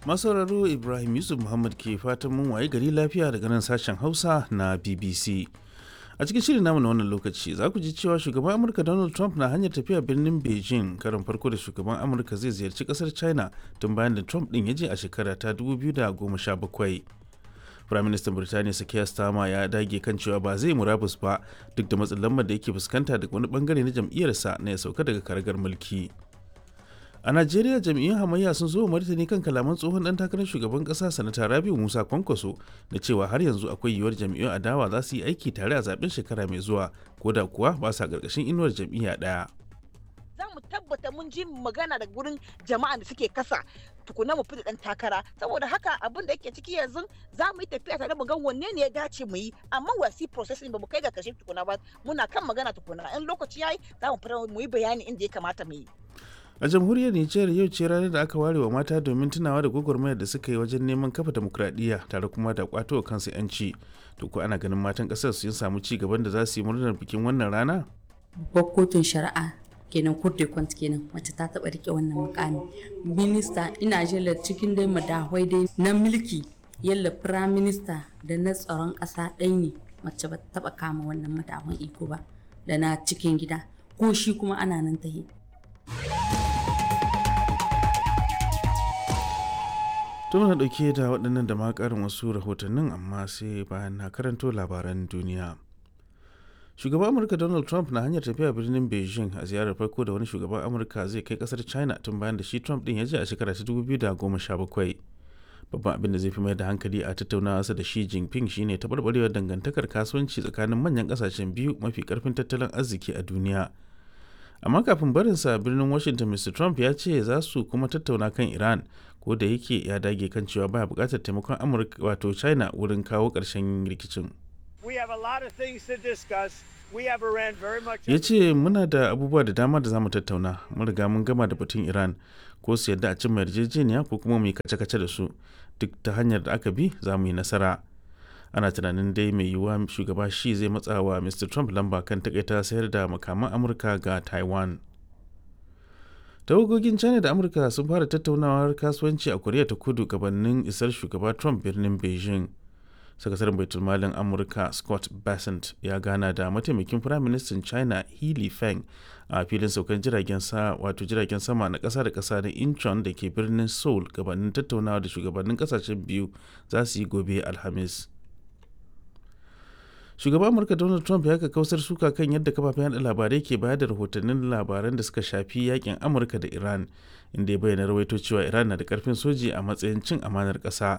Masauraro, Ibrahim Yusuf Muhammad ke fatan mun waye gari lafiya daga nan sashen Hausa na BBC. A cikin shirin namu na wannan lokaci za ku ji cewa shugaban Amurka Donald Trump na hanyar tafiya birnin Beijing, karin farko da shugaban Amurka zai ziyarci kasar China tun bayan da Trump din ya je a shekara ta 2017. Firaministan Birtaniya Keir Starmer ya dage kan cewa ba zai murabus ba duk da matsin lambar da yake fuskanta daga wani bangare na jam'iyyarsa na ya sauka daga karagar mulki. A Najeriya, jam'iyyun hamayya sun zo martani kan kalaman tsohon dan takarar shugaban kasa, Sanata Rabiu Musa Kwankwaso, da cewa har yanzu akwai yiwuwar jam'iyyun adawa za su yi aiki tare a zaben shekara mai zuwa, ko da kuwa ba sa karkashin inuwar jam'iyya ɗaya. Za mu tabbata mun ji magana daga gurin jama'a da suke kasa tukuna mu fita dan takara. Saboda haka abin da yake ciki yanzu, za mu yi tafiya tare mu ga wanne ne ya dace mu yi, amma we are processing, ba mu kai ga kashe tukuna ba, muna kan magana tukuna. In lokaci yayi za mu fita mu yi bayani inda ya kamata mu yi. A jamhuriyar Nijar, yau ce ranar da aka ware wa mata domin tunawa da gwagwarmayar da suka yi wajen neman kafa demokradiyya tare kuma da kwato wa kansu yanci. To ko ana ganin matan kasar sun samu ci gaban da za su yi murnar bikin wannan rana? Babbar kotun shari'a kenan, kurde kwant kenan, wacce ta taba rike wannan mukami, minista, ina jela cikin dai madahwai dai na mulki, yalla prime minister da na tsaron kasa ɗai ne mace ba ta taba kama wannan madahwan iko ba, da na cikin gida ko shi kuma ana nan tahi. To muna ɗauke da waɗannan da ma ƙarin wasu rahotannin, amma sai bayan na karanto labaran duniya. Shugaban Amurka Donald Trump na hanyar tafiya birnin Beijing a ziyarar farko da wani shugaban Amurka zai kai kasar China tun bayan da shi Trump ɗin ya je a shekara ta 2017. Babban abin da zai fi mai da hankali a tattaunawarsa da Xi Jinping shine taɓarɓarewar dangantakar kasuwanci tsakanin manyan ƙasashen biyu mafi ƙarfin tattalin arziki a duniya. Amma kafin barinsa birnin Washington, Mr Trump ya ce za su kuma tattauna kan Iran, ko da yake ya dage kan cewa baya bukatar taimakon Amurka, wato China, wurin kawo ƙarshen rikicin. Ya ce muna da abubuwa da dama da za mu tattauna. Mun riga mun gama da batun Iran. Ko su yadda a cimma yarjejeniya ko kuma mu yi kace-kace da su, duk ta hanyar da aka bi za mu yi nasara. Ana tunanin dai mai yiwuwa shugaba shi zai matsa wa Mr Trump lamba kan takaita sayar da makaman Amurka ga Taiwan. Tawagogin China da Amurka sun fara tattaunawar kasuwanci a Koriya ta Kudu gabanin isar shugaba Trump birnin Beijing. Sakataren baitulmalin Amurka Scott Bessent ya gana da mataimakin firaministan China He Feng a filin saukan jiragen sa, wato jiragen sama na kasa da kasa na Incheon da ke birnin Seoul, gabanin tattaunawa da shugabannin kasashen biyu za su yi gobe Alhamis. Shugaban Amurka Donald Trump ya kausar suka kan yadda kafafen yada labarai ke bayar da rahotannin labaran da suka shafi yakin Amurka da Iran, inda ya bayyana rawaito cewa Iran na da karfin soji a matsayin cin amanar kasa.